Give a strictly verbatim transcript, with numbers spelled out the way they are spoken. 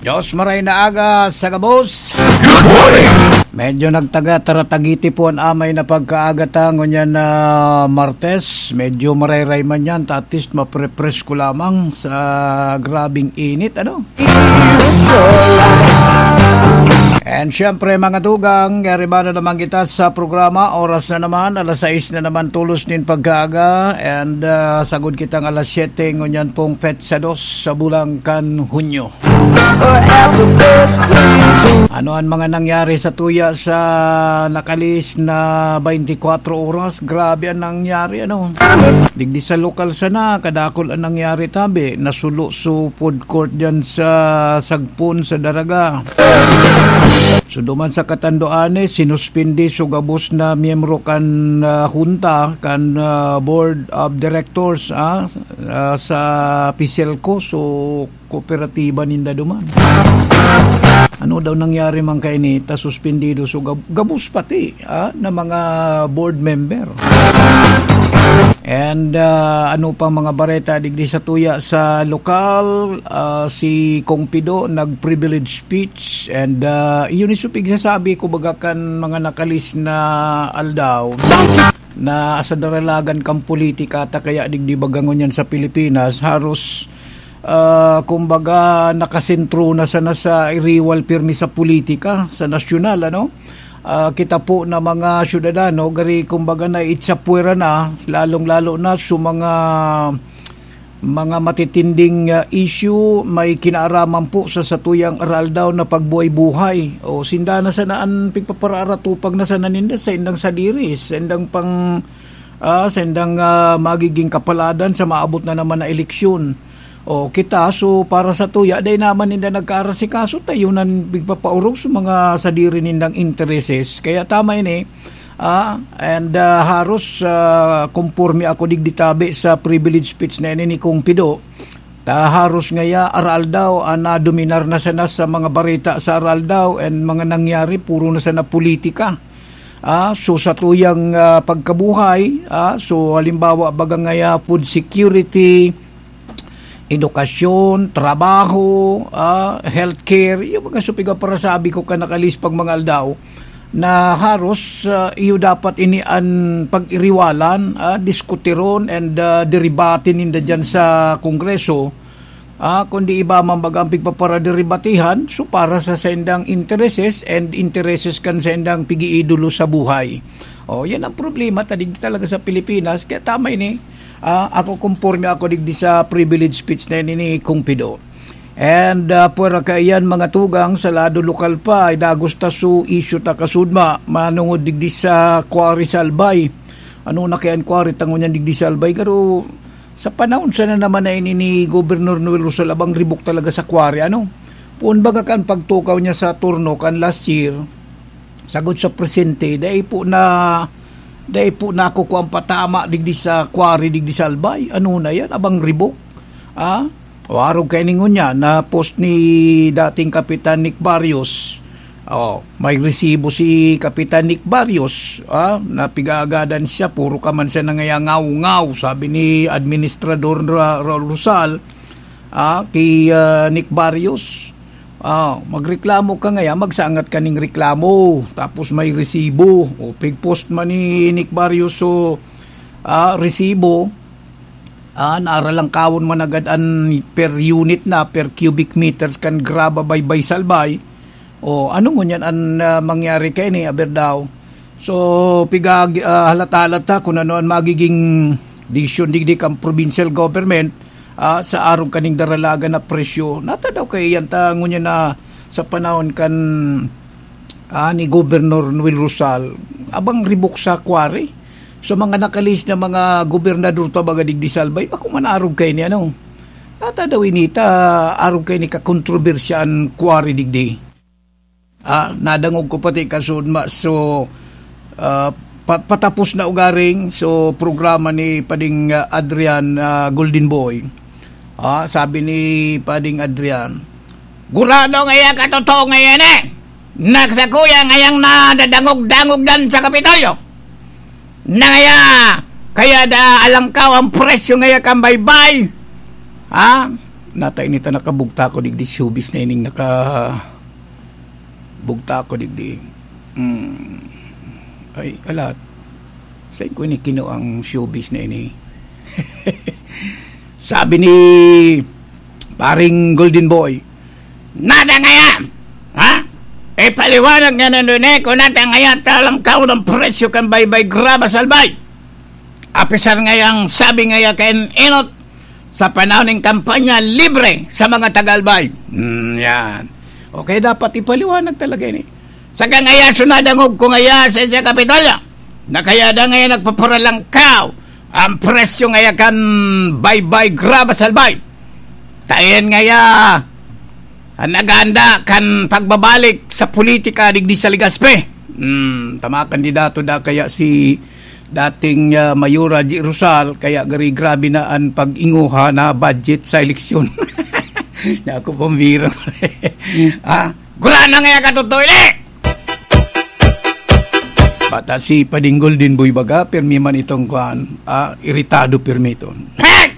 Diyos maray na aga sa gabos. Good morning! Medyo nagtaga-taratagiti po an amay na pagkaaga ta ngunyan na Martes. Medyo marayray man yan, ta at least maprepresko lamang sa grabing init, ano? And syempre, mga tugang, yaribana naman kita sa programa. Oras na naman, alas sais na naman tulos nin pagkaaga. And ah, sagod kitang alas siyete ngunyan pong petsa dos sa bulan kan Hunyo. Ano an mga nangyari sa tuya sa nakalihis na twenty-four oras? Grabe an nangyari, ano? Digdi sa lokal sana, kadakul an nangyari tabi. Nasulo so food court dyan sa Sagpon, sa Daraga. So, duman sa Catanduanes, sinuspindi so gabos na miyembro kan ah, junta, kan ah, Board of Directors, ah, ah, sa PHICELCO. So, kooperatiba ninda duman. Ano daw nangyari man kaini ta suspendido so gab- gabos pati, ah, na mga board member? And ah, ano pa mga bareta digdi sa tuya sa lokal? Ah, si Kong Pido nag-privilege speech and ah, iyon is pigsasabi ko baga kan mga nakalihis na aldaw na sa daralagan kan politika ta kaya digdi baga ngunyan sa Pilipinas, haros ah, kumbaga, nakasentro na sana sa iriwal pirmi sa politika, sa nasyonal, ano? Ah, kita po na mga syudadano, gari, kumbaga, naitsapwera na, lalong-lalo na sa mga, mga matitinding ah, issue, may kinaaraman po sa satuyang aral daw na pagbuhay-buhay. O, sinda na sana an pigpapararatupag na sana ninda sa indang sadiri, sa indang pang, ah, sa indang ah, magiging kapaladan sa maabot na naman na eleksyon. O, kita, so, para sa tuya, dai naman ninda nagkaarasikaso, ta yun ang pigpapaorog sa mga sadiri nindang intereses. Kaya tama ini, ah, and ah, haros ah, konporme ako digdi tabi sa privilege speech na ini ni Kong Pido. Ta haros ngaya, aral daw, ah, nadominar na sana sa mga bareta sa aral daw, and mga nangyari, puro na sana politika. Ah, so, sa tuyang ah, pagkabuhay, ah, so, halimbawa, baga ngaya, food security, edukasyon, trabaho, ah, healthcare, yung mga supiga para sabi ko ka nakalihis pag mga aldaw, na haros ah, iyo dapat ini an pag-iriwalan, ah, diskutiron, and ah, deribate ninda dyan sa Kongreso, ah, kundi iba man baga ang pigpaparaderibatihan, so para sa saindang intereses and intereses kan saindang pig-iidolo sa buhay. O, yan ang problema ta digdi talaga sa Pilipinas. Kaya tama ini, ah, ako, konporme ako digdi sa privilege speech na ini ni Kong Pido. And ah, pwera kaiyan, mga tugang, sa lado lokal pa, ay dagos ta so issue ta kasudma, manungod digdi sa quarry sa Albay. Ano na kaya an quarry ta ngunyan digdi sa Albay? Garo, sa panahon sana naman na ini ni Governor Noel Rosal, abang ribok talaga sa quarry, ano? Poon baga kan pagtukaw niya sa turno kan last year, sagod sa presente, dai po na, dai po nakukuha ang patama digdi sa quarry, digdi sa Albay. Ano na yan? Abang ribok? Ah? O, arog kay ningon niya, na post ni dating Kapitan Nick Barrios. Oh, may resibo si Kapitan Nick Barrios, ah, na pig-aagadan siya, puro ka man siya nangayangaw-ngaw, sabi ni Administrador Ra-, Ra-, Rosal, ah, kay ah, Nick Barrios. Ah, magreklamo ka ngayon, magsangat ka ning reklamo, tapos may resibo. O, pig-post man ni Nick Barrios so ah, resibo, ah, naaralangkawon man agad an per unit na, per cubic meters kan graba baybay sa Albay. O, ano ngunyan an ah, mangyari kaini, aber daw? So, pigag-, ah, halata-halata kung ano an magiging desisyon digdi kan provincial government, ah, sa arog kaning daralagan na presyo. Nata daw kay yan ta ngunyan na sa panahon kan ah, ni Governor Noel Rosal, abang ribok sa quarry. So, mga nakalihis na mga gobernador ta baga digdi sa Albay, bako man arog kaini, ano? Nata daw ini ta arog kaini kakontrobersiya an quarry digdi. Ah, nadangog ko pati kasud ma-, so, ah, pa-, patapos na ugaring, so, programa ni Pading ah, Adrian ah, Golden Boy. Ah, sabi ni Pading Adrian, "Gurado ngaya katotoo ngayan eh. Nagsakuya ngayang nadadangog-dangog dan sa Kapitolyo. Na ngaya, kaya da alangkaw ang presyo ngaya kan baybay." Ha? Nata ini ta nakabugta ko digdi showbiz na ining naka-, bugta ko digdi. Hmm. Ay, alat. Saan ko ini kinuha ang showbiz na ini? Sabi ni paring Golden Boy, "Nada ngaya! Ha? Ipaliwanag nga nandun eh, kung nata ngaya talang kaon ang presyo kan baybay graba salbay." Apisar ngayang sabi ngaya kan Enot, sa panahon nin kampanya, libre sa mga tagalbay. Hmm, yan. Okay, dapat ipaliwanag talaga ini. Sa kangaya, sunadangog ko ngaya sa isa Kapitolyo, na kaya da ngaya nagpaparalangkaw ang presyo ngaya kan baybay graba salbay. Tayan ngaya, ang naganda kan pagbabalik sa politika digdi sa Legazpi. Hmm, tama, kandidato da kaya si dating, ah, Mayora G. Rosal, kaya gari grabe na an pag-inguha na budget sa eleksyon. Naku, pambira. Ah, gurana ngaya katotoy ni! Bata si Pading Golden Boy baga, pirmi man itong kwan, ah, iritado pirmi ito. Hey!